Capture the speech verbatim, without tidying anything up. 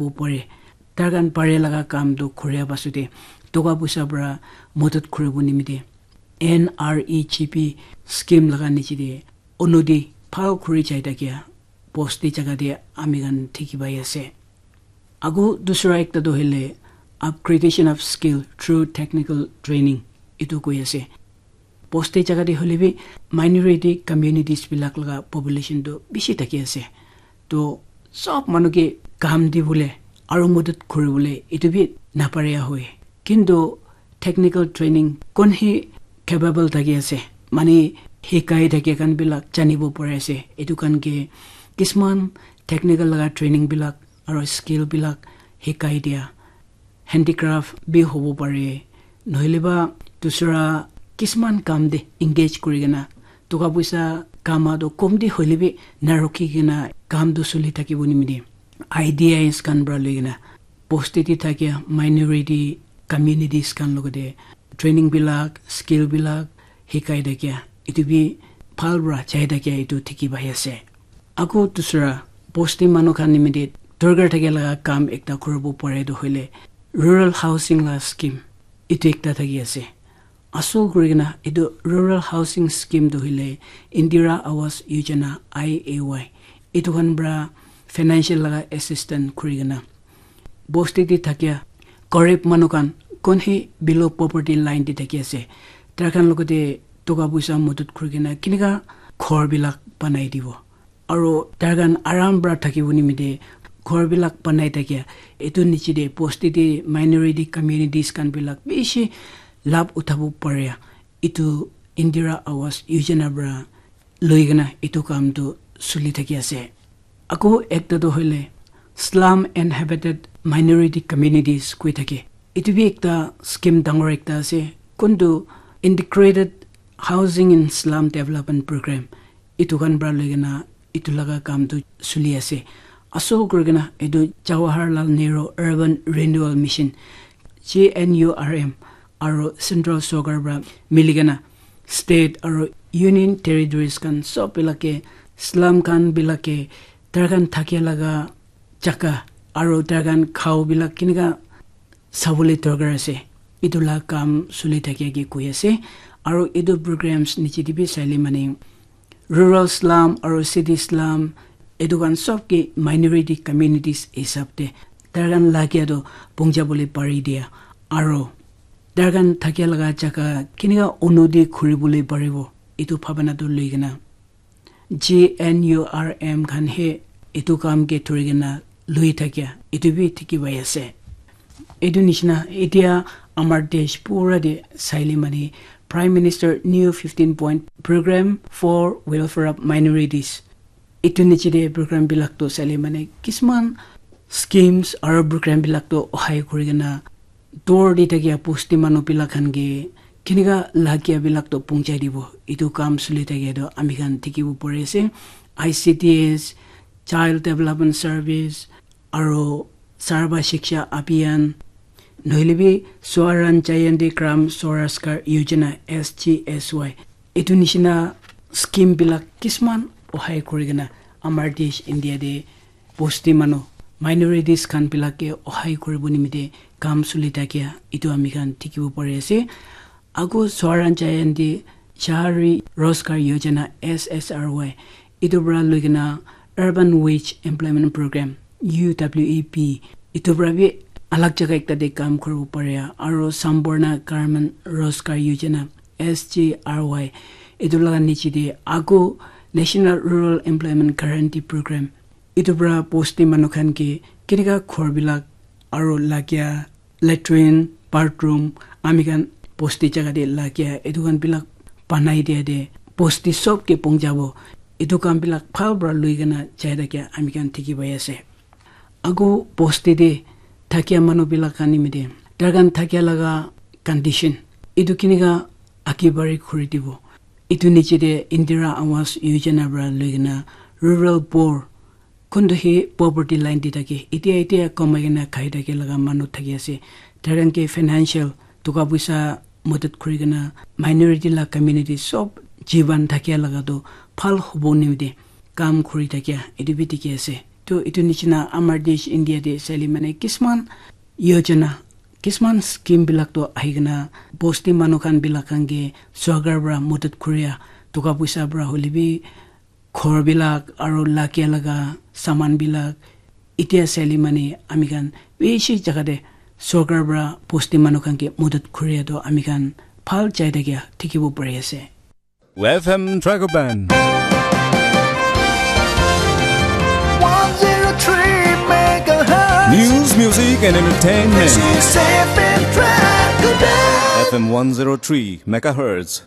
pare. Tar khan pare laga kam tu khuria pasute toka puisa para modot khuribo nimite N R E G P scheme laga niche te unoti bhal khuri jai thakia bosti jaga te ami khan dikhi pai ase. Ago dusra ekta tu hoile upgradation of skill through technical training, etu koi ase. Bosti jaga te hoile bi minority communities bilak laga population tu bishi thaki ase. To sob manu ke kam dibole aru modot kuribole etu bi napare hoi. Kintu technical training kon hi capable thaki ase, mane hikai thaki khan bilak janibo pare ase. Etu khan ke kisman technical laga training bilak aru skill bilak hikai dia, handicraft bi hobo pare, nohole ba dusra kisman kam te engage kuri kena toka puisa kama to kom te hoile bi na rukhi kena kam to suli thakibo nimite IDIs khan para loi kena bosti te thakia minority communities khan logote training bilak, skill bilak hikai thakia etu bi bhal para jai thakia etu dikhi pai ase. Ago dusra bosti manu khan nimite dorkar thakia laga kam ekta kuribo pare tu hoile rural housing la scheme etu ekta thaki ase. Asol kuri kena etu rural housing scheme tu hoile Indira Awas Yojana, I A Y, etu khan para financial laga assistance kuri kena bosti te thakia garib manu khan kon hi below poverty line te thaki ase, tar khan logote toka puisa modot kuri kena kinika ghor bilak banai dibo. Aru tar khan aram para thakibo nimite ghor bilak banai thakia etu niche te bosti te minority communities khan bilak bishi labh uthabo pare. Etu Indira Awas Yojana para loi kena etu kam tu suli thaki ase. Ago ekta tu hoile slum inhabited minority communities koi thake. Etu bi ekta scheme dangor ekta ase. Kuntu Integrated Housing in Slum Development Program etu khan para loi kena etu laga kam tu suli ase. Asol kuri kena etu Jawaharlal Nehru Urban Renewal Mission, G N U R M, aru central sorkar para mili kena state aru union territories khan sob bilake slum khan bilake tar khan thakia laga jaga aru tar khan khao bilak kinika sabole dorkar ase. Etu la kam suli thakia ke koi ase. Aru etu programs niche te bi saile mane rural slum aru city slum etu khan sob ke minority communities hisab te tar khan lagia tu pongja bole pari dia aru tar khan thakia laga jaga kinika unoti khuri bole paribo etu bhabana tu loi kena G N U R M khan he etu kam ke thori kena lui thakia etu bi dikhi pai ase. Etu nishina etia amar desh pura te saile mane Prime Minister New fifteen Point Program for Welfare of Minorities, etu niche te program bilak to saile mane kisman schemes aru program bilak to ohai kuri kena dur te thakia bosti manu bilak khan ke kinika lagia bilak to pongchai dibo. Etu kam suli thakia to ami khan dikhibo pari ase. I C D S, Child Development Service, aru Sarva Shiksha Abhiyan, nohile bi Swaran Jayandi Gram Swarajgar Yojana, S G S Y. Etu nishina scheme bilak kisman ohai kuri kena amar desh India te bosti manu, minorities khan bilak ke ohai kuribo nimite kam suli thakia etu ami khan dikhibo pari ase. Ago Swaran Jayandi Shahri Rozgar Yojana, S S R Y, etu para loi kena Urban Wage Employment Program, U W E P, etu para bi alag jaga ekta te kam kuribo pare. Aru Sampoorna Gramin Rozgar Yojana, S G R Y, etu laga niche te ago National Rural Employment Guarantee Program, etu para bosti manu khan ke kenika ghor bilak aru lagia latrine, bathroom, ami khan bosti jaga te lagia etu khan bilak banai dia te bosti sob ke pong jabo. Etu kam bilak bhal para lui kena jai thakia ami khan dikhi pai ase. Ago bosti te thakia manu bilak khan nimite tar khan thakia laga condition etu kenika age bari khuri dibo. Etu niche te Indira Awas Yojana para lui kena rural poor, kuntu hi poverty line te thake, etia etia kamai kena khai thake laga manu thaki ase. Tar khan ke financial toka puisa madad kuri kena minority la community sob jiban thakia laga tu bhal hobo nimite kam kuri thakia etu bi dikhi ase. To etu nishina amar desh India te sali mane kisman yojana, kisman scheme bilak to ahikena bosti manu khan bilak khan ke sorkar para madad kuria, toka poisa para hoile bi ghor bilak aro lagia laga saman bilak, etia sali mane ami khan bishi jaga te sorkar para bosti manu khan ke madad kuria to ami khan bhal jai thakia dikhibo pari ase. F M Dragon Band. One zero three megahertz. News, music, and entertainment. This is F M Dragon Band. F M one zero three megahertz.